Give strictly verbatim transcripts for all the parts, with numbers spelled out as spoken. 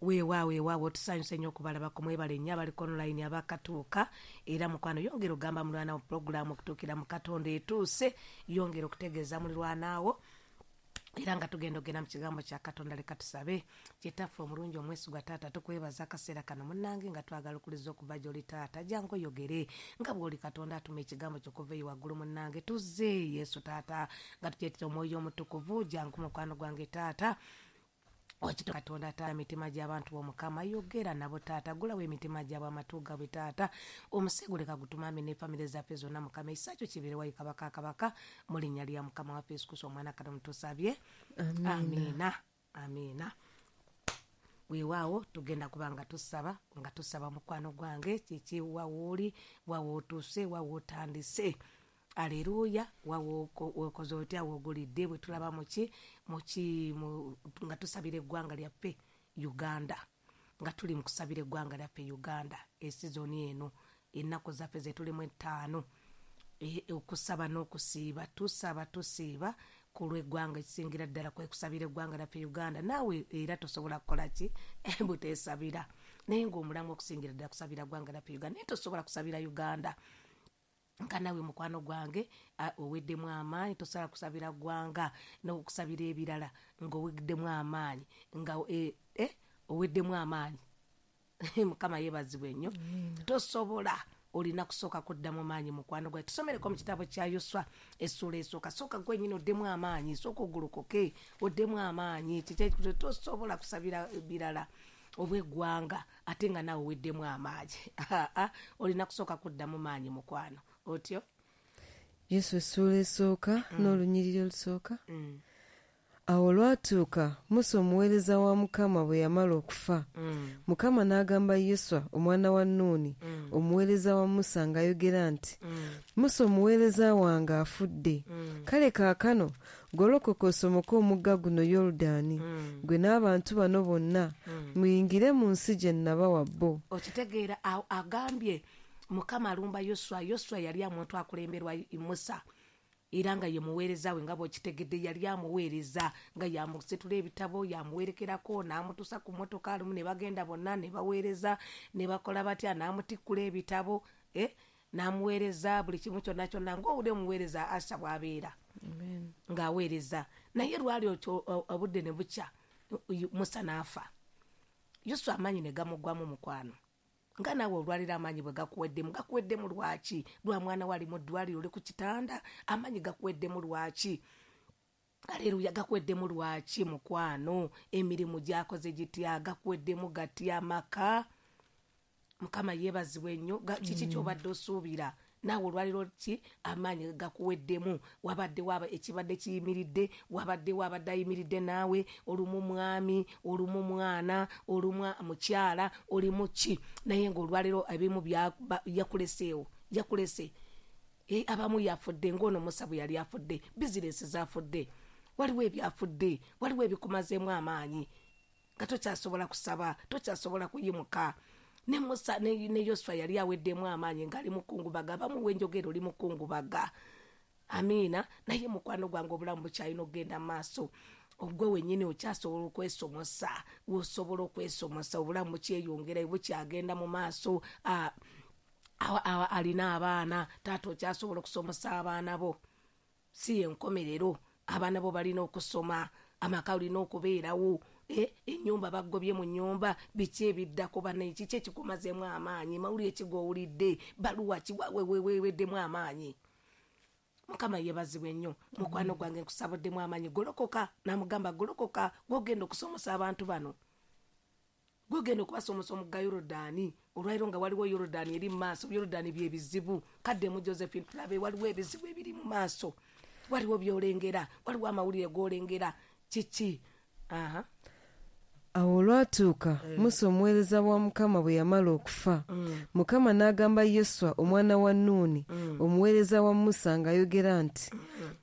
Weewaawo, weewaawo, tusanyuse nnyo okubalabako. Mwebale nnyo abaliko online abakatuuka. Era mukwano, yongera ogamba mulwana wo pulogulaamu okutuukira mu Katonda etuuse, yongera okutegeeza mulirwanaawo. Era nga tugenda ogenda mu kigambo kya Katonda, leka tusabe. Kitaffe omulungi omwesigwa, taata, tukwebaza akaseera kano munnange nga twagala okuliza okuva gy'oli. Taata, jangu oyogere nga bw'oli Katonda atuma ekigambo ky'okuva eyo waggulu. Munnange, tuzze Yesu taata nga tukyetera Omwoyo Omutukuvu. Jangu mukwano gwange taata, okito Katonda taata, emitima gy'abantu b'Omukama, yogera nabo taata, gulawo emitima gyabwe, amatu gaabwe taata, omusego leka gutumame ne famire zaffe zonna. Mukama, ekisa kyo kibeere wayi kabaka kabaka, mu linnya lya Mukama waffe Yesu Kristo omwana Katonda tusabye, amiina, amiina. Weewaawo, tugenda kuba nga tusaba, nga tusaba mukwano gwange. Kiki wawooli, wawootuuse, wawootandise? Aleluya. Wawokoze otya? Woogulidde? Bwe tulaba muki muki nga tusabira eggwanga lyaffe Uganda, nga tuli mu kusabira eggwanga lyaffe Uganda, esizoni eno, ennaku zaffe zetulimu ettaano, okusaba n'okusiiba, tusaba tusiiba ku lw'eggwanga. Ekisingira ddala kwe kusabira eggwanga lyaffe Uganda. Naawe era tosobola kukola ki buteesabira, naye ng'omulamu okusingira ddala kusabira ggwanga lyaffe Uganda. Naye tosobola kusabira Uganda nga nawe mukwano gwange oweddemu amaanyi. Tosobola kusabira ggwanga n'okusabira ebirala ng'oweddemu amaanyi, nga eh, oweddemu amaanyi. Mukama yeebazibwe nnyo. Tosobola, olina kusooka kuddamu maanyi mukwano gwange. Tusomereko mu kitabo kya Yoswa essuula esooka. Sooka gwenyini oddemu amaanyi, sooka ogolokoke oddemu amaanyi. Tosobola kusabira birala obweggwanga ate nga naawe oweddemu amaanyi. Olina kusooka kuddamu maanyi mukwano. Otyo. Yesu essuula esooka n'olunyiriri olusooka. Awo olwatuuka Musa omuweereza wa Mukama bwe yamala okufa, Mukama n'agamba Yoswa omwana wa Nuuni omuweereza wa Musa ng'ayogera nti, Musa omuweereza wange afudde. Kale kaakano golokoka osomoke omugga guno Yoludaani, gwe n'abantu bano bonna, muyingire mu nsi gye nabawa bo. Okitegeera, agambye Mukama alumba Yoswa. Yoswa yali omuntu akulemberwa Musa, era nga ye muweereza we, nga bw'okitegedde yali amuweereza nga yamusitula ebitabo, yamuwerekerako n'amutuusa ku mmotoka alumu ne bagenda bonna ne baweereza ne bakola batya, n'amutikkula ebitabo, eh, n'amuweereza buli kimu kyonna kyonna ng'owulira omuweereza Asha bw'abeera ng'aweereza. Naye lwali obudde ne bukya, Musa n'afa, Yoswa amaanyi ne gamuggwamu mukwano. Nga naawe olwaliro amaanyi bwe gakuweddemu, gakuweddemu lwaki? Lwa mwana wali mu ddwaliro, oli ku kitanda, amaanyi gakuweddemu lwaki? Aleluya. Gakuweddemu lwaki mukwano? Emirimu gyakoze gitya? Gakuweddemu gatya? Amaka? Mukama yeebazibwe nnyo. Kiki ky'obadde osuubira? Naawe olwaliro ki amaanyi gakuweddemu? Wabadde waba ekibadde kiyimiridde, wabadde wabadde ayimiridde naawe, olumu mwami, olumu mwana, olumu mukyala, olimu ki, naye ng'olwaliro ebimu yakuleseewo, yakulese. E, abamu yafudde ng'ono Musa bwe yali afudde, bizinesi zafudde, waliwo ebyafudde, waliwo ebikumazeemu amaanyi nga tokyasobola kusaba, tokyasobola kuyimuka. Ne Musa ne, ne Yoswa yali aweddemu amaanyi ng'ali mukungubaga. Abamu wenjogera oli mukungubaga. Amiina. Naye mukwano gwange, obulamu bukyalina okugenda mu maaso. Ogwe wennyini okyasobola okwesomosa, osobola okwesomosa, obulamu bukyeyongera, bukyagenda mu maaso. Alina abaana, taata, okyasobola okusomosa abaana bo, si yenkomerero. Abaana bo balina okusoma, amaka olina okubeerawo, ennyumba bagobye mu nnyumba, biki ebiddako bannaye? Kiki ekikumazeemu amaanyi? Mawulire ki g'owulidde? Baluwa ki weweweddemu amaanyi? Mukama yeebazibwe nnyo. Mukwano gwange, nkusabuddemu amaanyi, golokoka. Namugamba, golokoka, gwogenda okusomosa abantu bano, gwogenda okubasomosa omugga Yorodaani. Olwaliro nga waliwo Yorodaani eri mu maaso, Yorodaani byebizibu. Kaddemu Josephine, tulabe. Waliwo ebizibu ebiri mu maaso, waliwo byolengera, waliwo amawulire g'olengera, kiki? Aha. Awo olwatuuka Musa omuweereza wa Mukama bwe yamala okufa, Mukama n'agamba Yoswa omwana wa Nuuni omuweereza wa Musa ng'ayogera nti,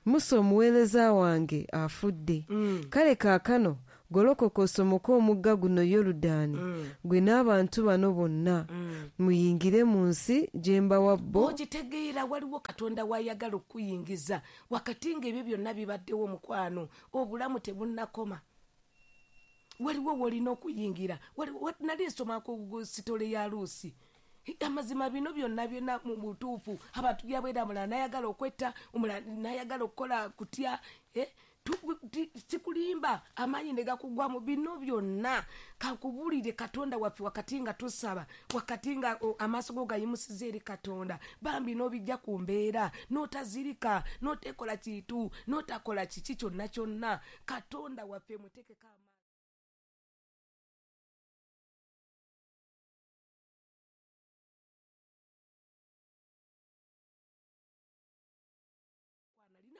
Musa omuweereza wange afudde. Kale kaakano golokoka osomoke omugga guno Yoludaani, gwe n'abantu bano bonna, muyingire mu nsi gye mbawa bo. Okitegeera, waliwo Katonda wayagala okuyingiza wakati ng'ebyo byonna bibaddewo. Mukwano, obulamu tebunnakoma. Waliwo wolina okuyingira. Nali nsoma ku sitole ya Luusi. Amazima bino byonna byonna mu butuufu abantu byabwera omulala n'ayagala okwetta, omulala n'ayagala okukola kutya, eh? Sikulimba, amaanyi ne gakugwamu. Bino byonna kankubuulire Katonda waffe wakati nga tusaba, wakati nga amaaso go gayimusiza eri Katonda, bambi n'obijja ku mbeera, n'otazirika, n'otekola kintu, n'otakola kiki kyonna kyonna. Katonda waffe muteekeko amaanyi.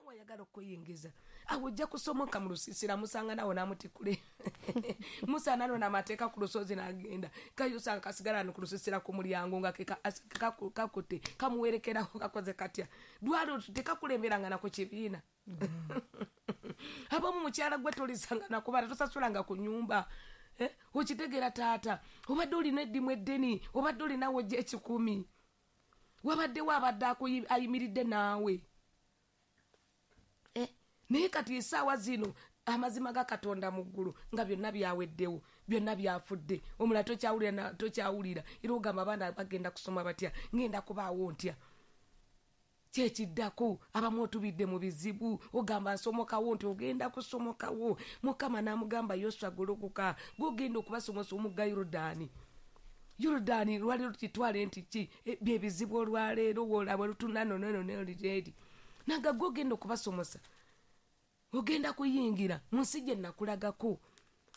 Wayagala okuyingiza awo ojja kusomoka mu lusiisira, musanga nawo n'amutikule Musa nano n'amateeka ku lusozi n'agenda kayosanga kasigala no ku lusiisira ku mulyango nga kakutte kamuwerekerako kakoze katya dwalo tekakulemberanga na ku kibiina. Abamu mukyala gwe tolisanga nakubala tosasulanga ku nyumba. Eh? Okitegeera taata, obadde olina eddimu eddeni, obadde olinawo ojja ekikumi, wabaddewo abadde ayimiridde naawe. Naye kati essaawa zino amazima ga Katonda mu ggulu nga byonna byaweddewo, byonna byafudde, omulala tokyawulira tokyawulira, era ogamba abaana bagenda kusoma batya, ngenda kubaawo ntya? Kyekiddako abamu otubidde mu bizibu, ogamba nsomokawo nti ogenda kusomokawo. Mukama n'amugamba Yoswa golokoka, gw'ogenda okubasomosa omugga Yorudaani. Yorudaani lwali lukitwale nti ki bye bizibu olwaleero wolaba lutunanonenoneri nanga gw'ogenda okubasomosa, ogenda kuyingira mu nsi gye nakulagako.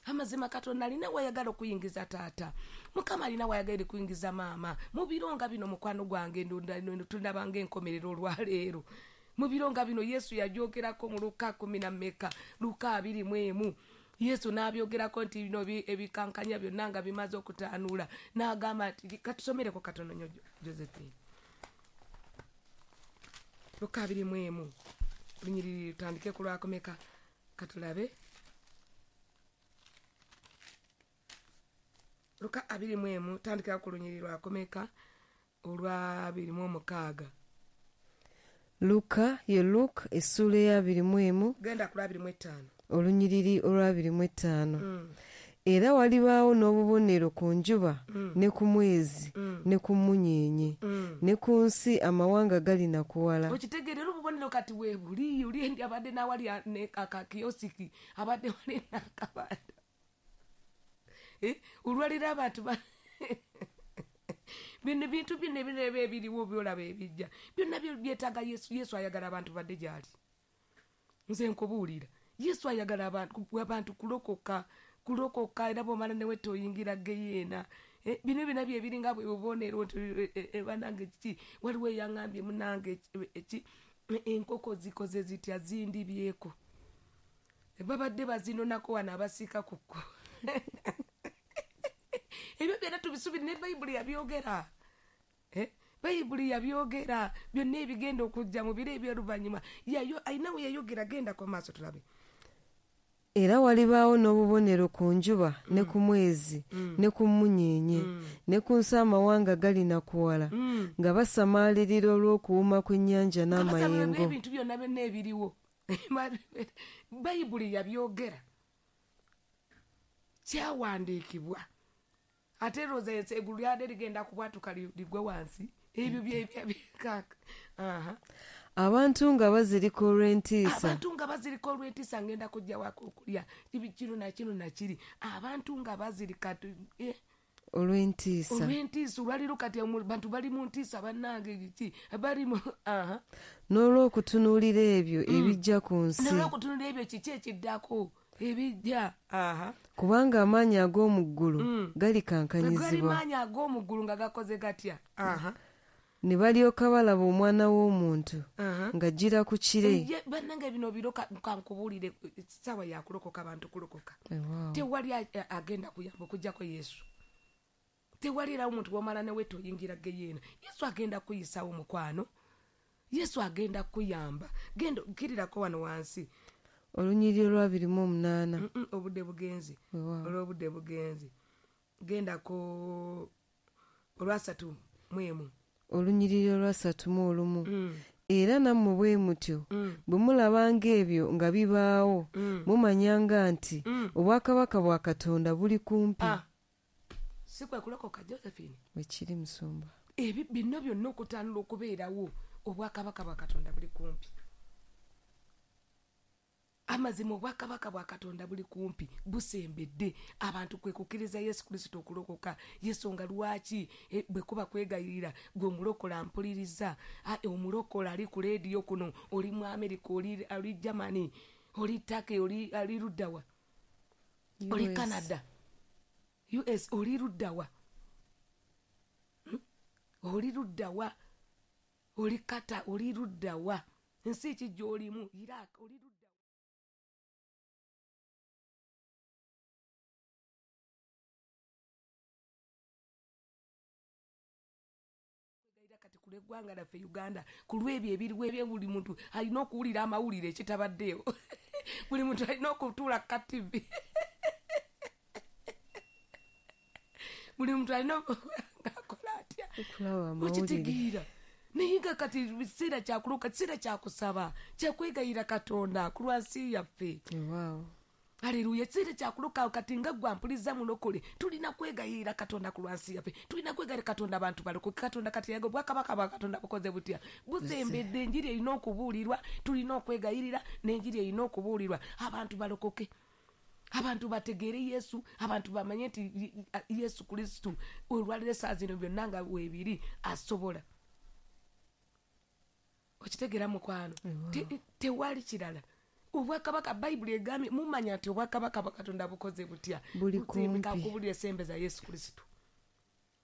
Amazima Katonda alina wayagala okuyingiza taata, Mukama alina wayagala okuyingiza maama. Mu biro nga bino mukwano gwange tundabanga enkomerero olwaleero. Mu biro nga bino Yesu yagyogerako mu Luka kumi na mmeka, Luka abiri mu emu. Yesu n'abyogerako nti bino ebikankanya byonna nga bimaze okutaanuula, n'agamba nti katusomereko katono nnyo Josephine. Luka abiri mu emu lunyiriri tutandike ku lwakomeka katulabe. Luka abiri mu emu tandikira ku lunyiriri lwakomeka olwa abiri mu omukaaga. Luka ye Luka essuula eya abiri mu emu genda ku lwa abiri mu etaano olunyiriri olwa abiri mu etaano. Mm. Era walibaawo n'obubonero ku njuba mm. ne ku mwezi mm. ne ku mmunyeenye mm. ne ku nsi amawanga galinakuwala. Okitegeera obubonero kati weebuli oli endi abadde n'awali akakiyosiki abadde wali n'akabanda olwaliro abantu bino bintu bino ebirala ebiriwo byolaba ebijja byonna byetaaga Yesu. Yesu ayagala abantu badde gy'ali. Nze nkubuulira Yesu ayagala abantu kulokoka kulokoka era bw'omala ne wetta oyingira geyeena. Bino byonna bye biringa bwe bubonero nti bannange kiki waliwo eyaŋŋambye munnange ki enkoko zikoze zitya zindibyeko babadde bazinonako wano abasiika ku kkubo. Ebyo byonna tubisuubire ne Bayibuli yabyogera. Bayibuli yabyogera byonna ebigenda okujja mu biro eby'oluvannyuma. Alina we yayogera, gendako maaso tulabe. Era walibaawo n'obubonero ku njuba ne ku mwezi ne ku mmunyeenye ne ku nsi amawanga galinakuwala nga basamaalirira olw'okuwuma kw'ennyanja n'amayengo. Ebintu byonna byonna ebiriwo Bayibuli yabyogera, kyawandiikibwa. Ate roza eggulu lyadde ligenda kubwatuka ligwe wansi ebyo byebikaka. Abantu nga bazirika olw'entiisa. Abantu nga bazirika olw'entiisa ngenda kujja wako okulya kino na kino na kiri. Abantu nga bazirika eh. olw'entiisa. Olw'entiisa olwaliro kati abantu bali mu ntiisa bannange kiki bali mu aha. N'olw'okutunuulira ebyo ebijja ku nsi. N'olw'okutunuulira ebyo kiki ekiddako ebijja aha. Kubanga amaanyi ag'omu ggulu mm. galikankanyizibwa. Gali maanyi ag'omu ggulu nga gakoze gatya aha. Ne balyoka balaba omwana w'omuntu ng'ajjira ku kire. Bannange bino biro kankubuulire ssaawa ya kulokoka abantu kulokoka. Tewali agenda kuyamba okuggyako Yesu. Tewali era omuntu bw'omala ne wetta oyingira geyeena. Yesu agenda kuyisaawo mukwano. Yesu agenda kuyamba. Genda kirirako wano wansi. Olunyiriri olwa abiri mu omunaana. Obudde bugenzi. Olw'obudde bugenzi. Gendako olwasatu mu emu. Olunyiriri olwasatu mu olumu. Mm. Era nammwe bwe mutyo bwe mulabanga ebyo nga bibaawo mumanyanga nti obwakabaka bwa Katonda buli kumpi. Si kwe kulokoka, Josephine? Wekiri, musumba. Ebi bino byonna okutandula okubeerawo, obwakabaka bwa Katonda buli kumpi. Amazima, obwakabaka bwa Katonda buli kumpi, busembedde. Abantu kwe kukkiriza Yesu Kristo okulokoka. Yesonga lwaki eh, bwe kuba kwegayirira, gwe omulokola mpuliriza, omulokola ali ku leediyo kuno, oli mu America, oli, oli Germany, oli Turkey, oli, oli luddawa, oli Canada, U S, oli luddawa, hmm? Oli luddawa, oli Kata, oli luddawa, ensi ki gy'olimu, Iraq, oli luddawa. Kati ku lw'eggwanga laffe Uganda, ku lw'ebyo ebiriwo ebye, buli muntu alina okuwulira amawulire ekitabaddeewo. Buli muntu alina okutuula ka T V. Buli muntu alina ng'akola atya okitegeera. Naye nga kati kiseera kya kulokoka, kiseera kya kusaba, kya kwegayirira Katonda ku lwansi yaffe. Haleluya. Kiseera kya kulokoka kati nga ggwe ampuliza mulokole, tulina kwegayirira Katonda ku lwansi yaffe, tulina kwegayirira Katonda abantu balokoke. Katonda kati yaga obwakabaka bwa Katonda bukoze butya, busembedde. Enjiri erina okubuulirwa, tulina okwegayirira n'enjiri erina okubuulirwa, abantu balokoke, abantu bategeere Yesu, abantu bamanye nti Yesu Kristo olwaliro essaawa zino byonna nga weebiri asobola. Okitegeera mukwano? Tewali kirala. Obwakabaka, Bayibuli egambye mumanya nti obwakabaka bwa Katonda bukoze butya, buli kumpi. Kubulira sembeza Yesu Kristo.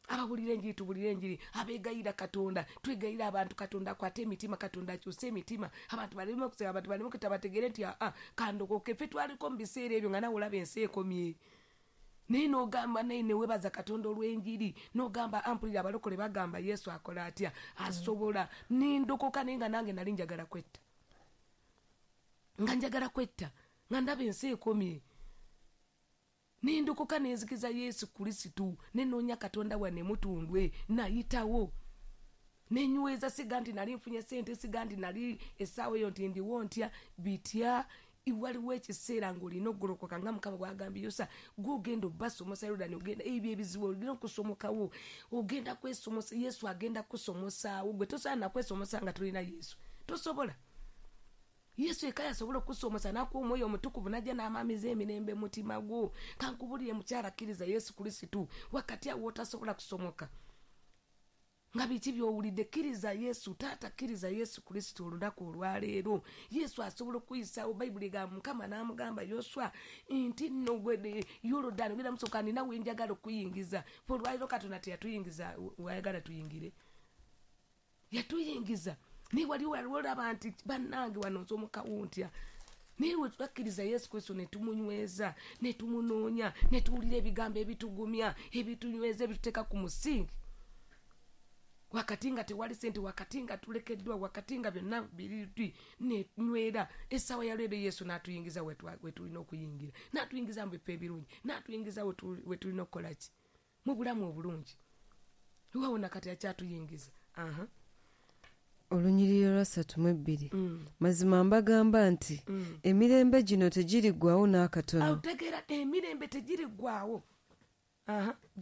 Ababulira enjiri tubulire enjiri, abeegayira Katonda twegayira abantu, Katonda akwate emitima, Katonda akyuse emitima, abantu baleme okusaba, abantu baleme okutta, bategeere nti aa kandokoke. Ffe twaliko mu biseera ebyo nga nawe olaba ensi ekomye, naye n'ogamba naye neweebaza Katonda olw'enjiri, n'ogamba ampulira abalokole bagamba Yesu akola atya, asobola. Nindokoka, naye nga nange nali njagala kwetta, nga njagala kwetta, nga ndaba ensi ekomye. Nindokoka nenzikiza Yesu Kristo, nenoonya Katonda wanne mutundwe, nayitawo nenyweza. Siga nti nali nfunye sente, siga nti nali essaawa eyo nti ndiwo ntya bitya. Waliwo ekiseera ng'olina okugolokoka nga Mukama bw'agambye Yosa, gw'ogenda obbasomosa Yoludaani, ogenda ebyo ebizibu olina okusomokawo, ogenda kwesomosa, Yesu agenda kusomosaawo. Gwe tosobola nakwesomosa nga tolina Yesu, tosobola. Yesu eka yasobola okusomosa n'akuwa omwoyo omutukuvu n'ajja n'amaamiza emirembe mutima gwo. Kankubulire mukyala, kkiriza Yesu Kristo wakati awo otasobola kusomoka nga biki by'owulidde. Kkiriza Yesu, taata, kkiriza Yesu Kristo olunaku olwaleero. Yesu asobola okuyisaawo. Bayibuli egamba Mukama n'amugamba Yoswa nti nno gwe Yoludaani ogenda musoka, nina we njagala okuyingiza. Fe olwaleero Katonda teyatuyingiza wayagala tuyingire, yatuyingiza. Naye waliwo waliwo olaba nti bannange wano nsomokawo ntya. Naye we twakkiriza Yesu Kristo ne tumunyweza, ne tumunoonya, ne tuwulira ebigambo ebitugumya, ebitunyweza, ebituteeka ku musingi, wakati nga tewali sente, wakati nga tulekeddwa, wakati nga byonna biri nenywera, essaawa ya leero Yesu n'atuyingiza we tulina okuyingira, n'atuyingiza mu bifo ebirungi, n'atuyingiza we tulina okukola ki mu bulamu obulungi. Wawona kati akyatuyingiza. Aha. Olunyiriri lwa ssatu mu ebbiri. Mazima mbagamba nti emirembe gino tegiriggwaawo n'akatono. Otegeera, emirembe tegiriggwaawo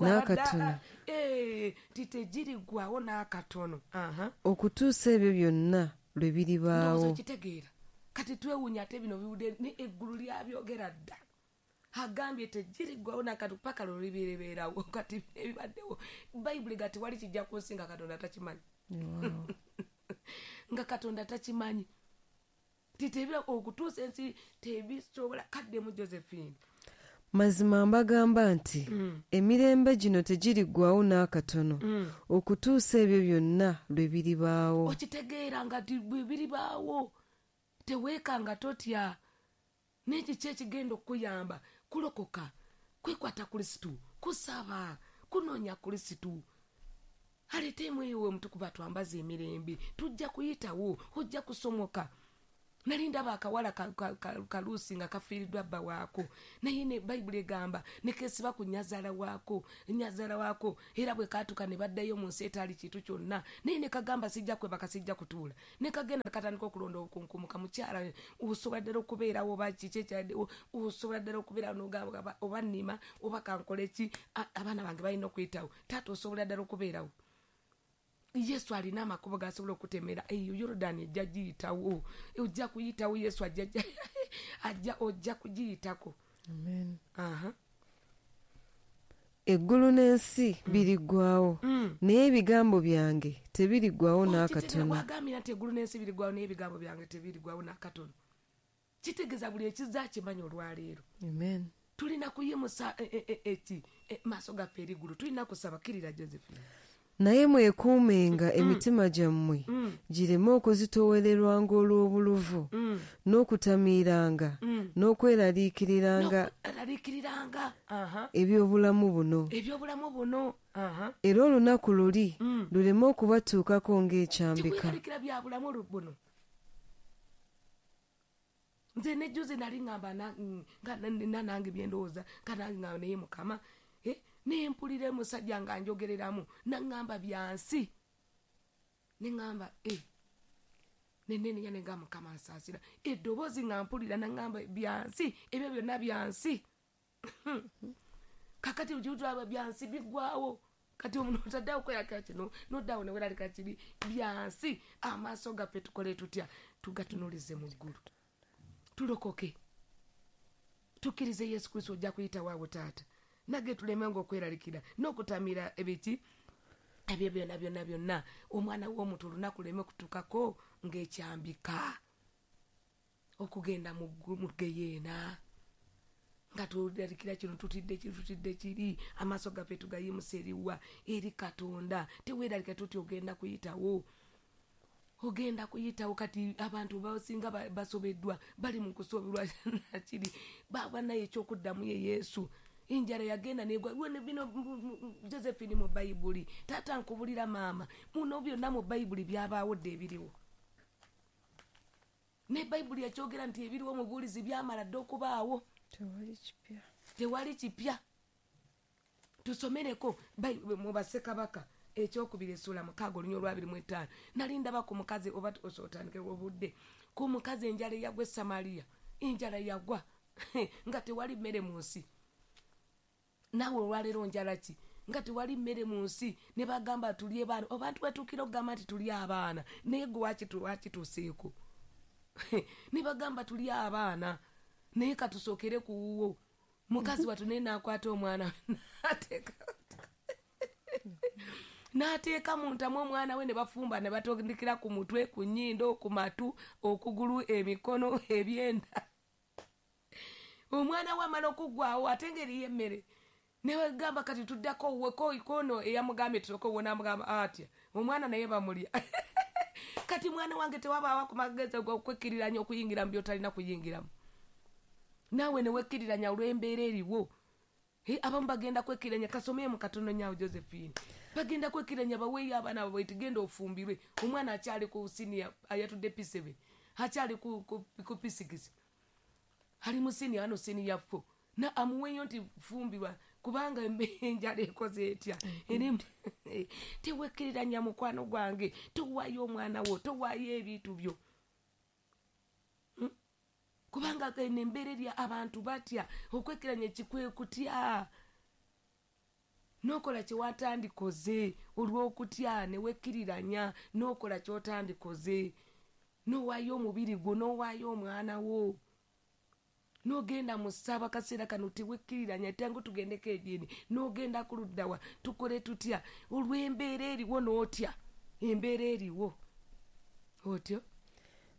n'akatono. Ti tegiriggwaawo n'akatono okutuusa ebyo byonna lwe biribaawo. Okitegeera kati twewuunya ate bino biwudde ne eggulu lyabyogera dda. Agambye tegiriggwaawo n'akatono paka lwe libeerawo. Kati ebibaddewo Bayibuli ga tewali kijja ku nsi nga Katonda takimanyi. Nga Katonda takimanyi. Titebira okutuusa ensi tebisobola. Kaddemu Josephine. Mazima mbagamba nti emirembe gino tegiriggwaawo n'akatono okutuusa ebyo byonna lwe biribaawo. Okitegeera nga bwe biribaawo, teweekanga totya. N'ekiki ekigenda okukuyamba kulokoka, kwekwata Kristo, kusaba, kunoonya Kristo. Aleete omwoyo we omutukuvu atwambaze emirembe. Tujja kuyitawo, ojja kusomoka. Nali ndaba akawala kalusi nga kafiiriddwa bba waako, naye ne Bayibuli egamba ne keesiba ku nnyazaala waako, nnyazaala waako, era bwe kaatuka ne baddayo mu nsi etaali kintu kyonna, naye ne kagamba sijja kwebaka, sijja kutuula, ne kagenda katandika okulonda obukunkumuka. Mukyala osobola ddala okubeerawo oba kiki ekyaddewo, osobola ddala okubeerawo n'ogamba oba nnima oba kankole ki, abaana bange balina okuyitawo. Taata osobola ddala okubeerawo. Yesu alina amakubo gasobola okutemera eyo Yorodani ejja giyitawo, ojja kuyitawo. Yesu ajja ajja ojja kugiyitako. Amen. Aha. Eggulu n'ensi biriggwawo, Mm. naye ebigambo byange tebiriggwawo n'akatono. Wagambira nti eggulu n'ensi biriggwawo naye ebigambo byange tebiriggwawo n'akatono. Kitegeeza buli ekizza kimanyi olwaleero. Amen. Tulina kuyimusa eki maaso gaffe eri ggulu, tulina kusaba. Kkirira Josephine. Naye mwekuumenga emitima gyammwe Mm. gireme okuzitoowererwanga olw'obuluvu, Mm. n'okutamiiranga, Mm. n'okweraliikiriranga N'okweraliikiriranga. Aha. eby'obulamu buno. Eby'obulamu buno. Aha. Era olunaku luli Mm. luleme okubatuukako ng'ekyambika. Tikweraliikira bya bulamu buno. Nze ne juzi nali ŋŋamba na- nga nina nange bye ndowooza, nga nange ŋŋamba naye Mukama, eh, ne mpulira omusajja nga njogereramu, n'aŋŋamba bya nsi. Ne ŋŋamba, eh, ne neenenya ne ŋŋamba Mukama nsaasira. Eddoboozi nga mpulira n'aŋŋamba bya nsi, ebyo byonna bya nsi. Kaakati ojjutulaba bya nsi biggwaawo. Kati omuntu otaddeawo okweraliikira kino, n'oddawo ne weeraliikira kiri, bya nsi. Amaaso gaffe tukole tutya? Tugatunuulize mu ggulu. Tulokoke. Tukkirize Yesu Kristo, ojja kuyitawo awo taata. Nage tulemenga okweralikira n'okutamira ebiki ebyo byonna byonna byonna. Omwana w'omuntu olunaku luleme kutuukako ng'ekyambika okugenda mu ggu-, mu ggeyeena, nga tulerikira kino, tutidde kiri, tutidde kiri. Amaaso gaffe tugayimusa eriwa? Eri Katonda. Teweeralika tuti ogenda kuyitawo, ogenda kuyitawo. Kati abantu basinga ba-, basobeddwa, bali mu kusoberwa nakiri, baba naye ekyokuddamu ye Yesu. Enjala yagenda negwa. Lwe bino Josephine mu Bayibuli, taata nkubulira maama, muno byonna mu Bayibuli byabaawo dda ebiriwo. Ne Bayibuli yakyogera nti ebiriwo mu buulizi byamala dda okubaawo. Tewali kipya. Tewali kipya. Tusomereko Bayibuli mu Bassekabaka ekyokubiri essuula mukaaga olunya olwabiri mu ttaano. Nali ndaba ku mukazi, oba otandike obudde, ku mukazi enjala eyagwa e Samaliya. Enjala yagwa nga tewali mmere mu nsi. Naawe olwaleero njala ki? Nga tewali mmere mu nsi, ne bagamba tulye baana. Abantu batuukira okugamba nti tulye abaana, naye gwe wakitu-, wakituuseeko. Ne bagamba tulye abaana, naye katusookere ku wuwo. Mukazi wattu naye n'akwata omwana n'ateeka n'ateeka mu ntamu omwana we, ne bafumba ne batondekera ku mutwe, ku nnyindo, ku matu, okugulu, emikono, ebyenda. Omwana we amala okuggwaawo, ate ng'eriyo emmere. Ne bagamba kati tuddako wuwe, ko ikono eyamugambye tusooke wuwe, n'amugamba atya, omwana naye bamulya. Kati mwana wange tewabaawo ku magezi ogw'okwekkiriranya okuyingira mu by'otalina kuyingiramu. Naawe ne wekkiriranya olw'embeera eriwo. He, abamu bagenda kwekkiriranya, kasomemu katono nnyo Josephine. Bagenda kwekkiriranya baweeyo abaana baabwe nti genda ofumbirwe. Omwana akyali ku siniya, ayatudde P seven, akyali ku, ku, ku P six. Ali mu siniya, wano siniya four. Na amuweeyo nti fumbirwa, kubanga enjala ekoze etya. Erimu, tewekkiriranya mukwano gwange, towaayo omwana wo, towaayo ebintu byo. Hmm? Kubanga eno embeera eri abantu batya, okwekkiranya kikwekutya. N'okola kye watandikoze olw'okutya, ne wekkiriranya, n'okola ky'otandikoze, n'owaayo omubiri gwo, n'owaayo omwana wo. N'ogenda mu ssaba kaseera kano tewekkiriranya, tangu tugendeko ediini, n'ogenda ku ludda wa, tukole tutya olw'embeera eriwo n'otya embeera eriwo otyo.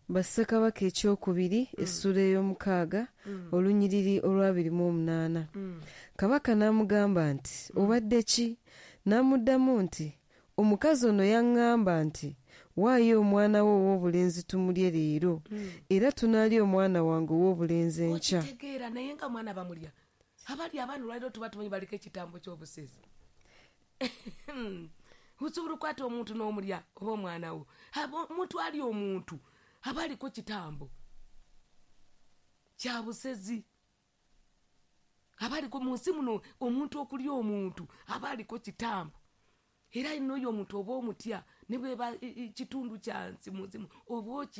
Bassekabaka ekyokubiri, Mm. essuula ey'omukaaga, Mm. olunyiriri olw'abiri mu omunaana. Mm. Kabaka n'amugamba nti, Mm. obadde ki? N'amuddamu nti, omukazi ono yaŋŋamba nti, waayo omwana wo ow'obulenzi tumulye leero, Mm. era tunaalya omwana wange ow'obulenzi enkya. Okitegeera, naye nga mwana bamulya. Abali abaana olwaleero tuba tumanyi baliko ekitambo ky'obusezi. Osobola okukwata omuntu n'omulya oba omwana wo. Abo, omuntu ali omuntu, aba aliko kitambo. Kya busezi. Abaliko mu nsi muno omuntu okulya omuntu aba aliko kitambo, era alina oyo omuntu oba omutya ne bweba kitundu kya nsi mu nsi oba